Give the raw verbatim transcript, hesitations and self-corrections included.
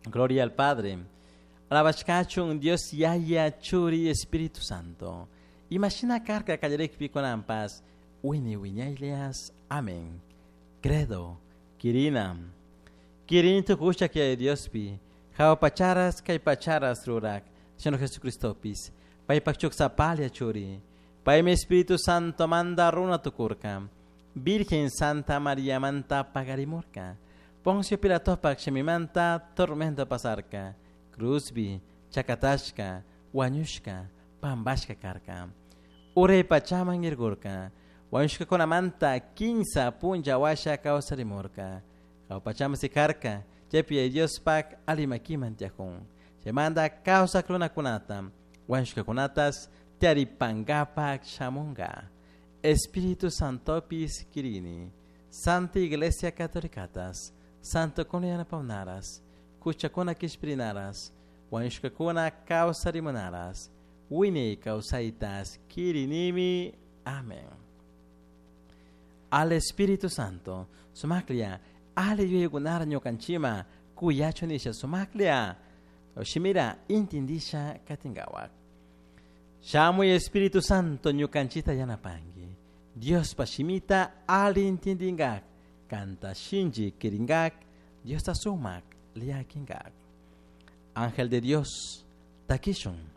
Gloria al Padre. Alabashkachun Dios Yaya Churi Espíritu Santo. Imashina karka kallarikpi kunanpas wiñay wiñaylias. Amén. Credo. Kirina. Kirini tukushak Yaya Diospi. Jahua pacharas kay pacharas rurak. Señor Jesucristopis. Paypak shuk sapalla churi. Paymi Espíritu Santo manta runa tukurka. Virgen Santa María manta pakarimurka. Poncio Pilatopak shimimanta tormento pasarka. Cruzbi, chakatashka, wañushka, pambashka karka. Uray pachaman irgurka. Wañushkakunamanta kinsa punlla washa kawsarimurka. Jahua pachaman sikarka, chaypi Diospak ali makiman tiyakun. Chaymanta kawsak runakunata, wañushkakunatas taripangapak shamunga. Espíritu Santopis kirini, Santa Iglesia Catolicatas, Santo yanapawnaras, kuchakuna kishpirinaras, wañushkakuna kawsarimunaras, wiñay kawsaytas kirinimi. Amén. Al Espíritu Santo, sumaklia, ali yuyaykunara ñukanchima, kuyachun nisha sumaklia, shimira intindisha katingawak. Shamuy Espíritu Santo ñukanchita yanapangi. Diospa shimita ali intindingak, kanta shinchi kiringak, Diosta sumak liakingak. Ángel de Dios, takishun.